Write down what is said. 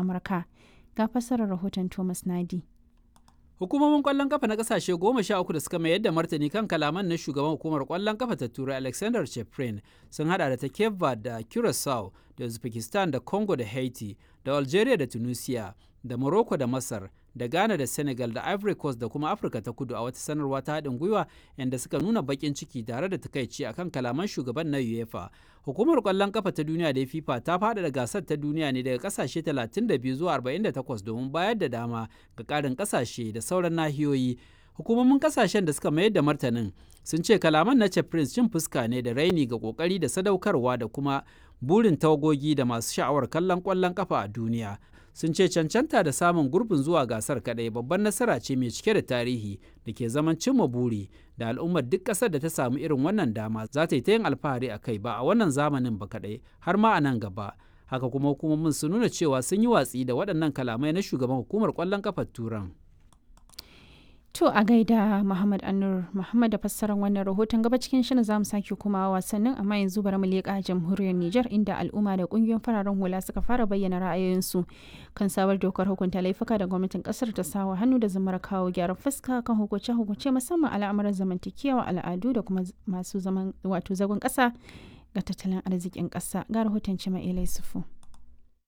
Amurka. Ga fassarar rahoton Thomas Nadi. Hukumomin kwallon kafa na kasashe 13 da suka mayar da martani kan kalaman na shugaban hukumar kwallon kafa ta Turai Alexander Cheprin sun hada da ta Cape Verde da Curacao da Uzbekistan da Congo da Haiti da Algeria da Tunisia da Morocco da Masar da Ghana da Senegal da Ivory Coast da kuma Afirka ta Kudu a wata sanarwa ta haɗin gwiwa inda suka nuna baƙin ciki tare da takaici akan kalaman shugaban na UEFA. Hukumar ƙwallon kafa ta duniya da FIFA ta faɗaɗa gasar ta duniya ne daga ƙasashe 32 zuwa 48 domin bayar da dama ga ƙarin ƙasashe da sauran nahiyoyi. Hukumomin kasashen da suka mayar da martanin sun ce kalaman na Prince cin fuska ne da raini ga kokari da sadaukarwa da kuma burin tawagogi da masu sha'awar kallon ƙwallon kafa a duniya. Sun ce cancanta da samun gurbin zuwa gasar kadai babban nasara ce mai cike da tarihi da ke zaman cimma buri da al'ummar duk ƙasar da ta samu irin wannan dama za ta yi ta yin alfahari a kai ba a wannan zamanin ba kadai har ma a nan gaba. Haka kuma hukumomin sun nuna cewa sun yi watsi da waɗannan kalamai na shugaban hukumar ƙwallon kafar Turan. To a gaida Muhammad Anur Muhammad da fassarar wannan rahoton. Gaba cikin shirin zamu sake kuma wasannin, amma yanzu bari mu leƙa jamhuriyar Nijar, inda al'umma da kungiyoyin fararen hula suka fara bayyana ra'ayoyinsu kan sabar dokar hukunta laifuka da gwamnatin kasar ta sawa hannu da zamar kawo gyaran fuska kan hukunce-hukunce, musamman al'amuran zamantakewa, al'adu da kuma masu zaman wato zagon ƙasa ga tattalin arzikin ƙasa. Ga rahoton Cima Sufu.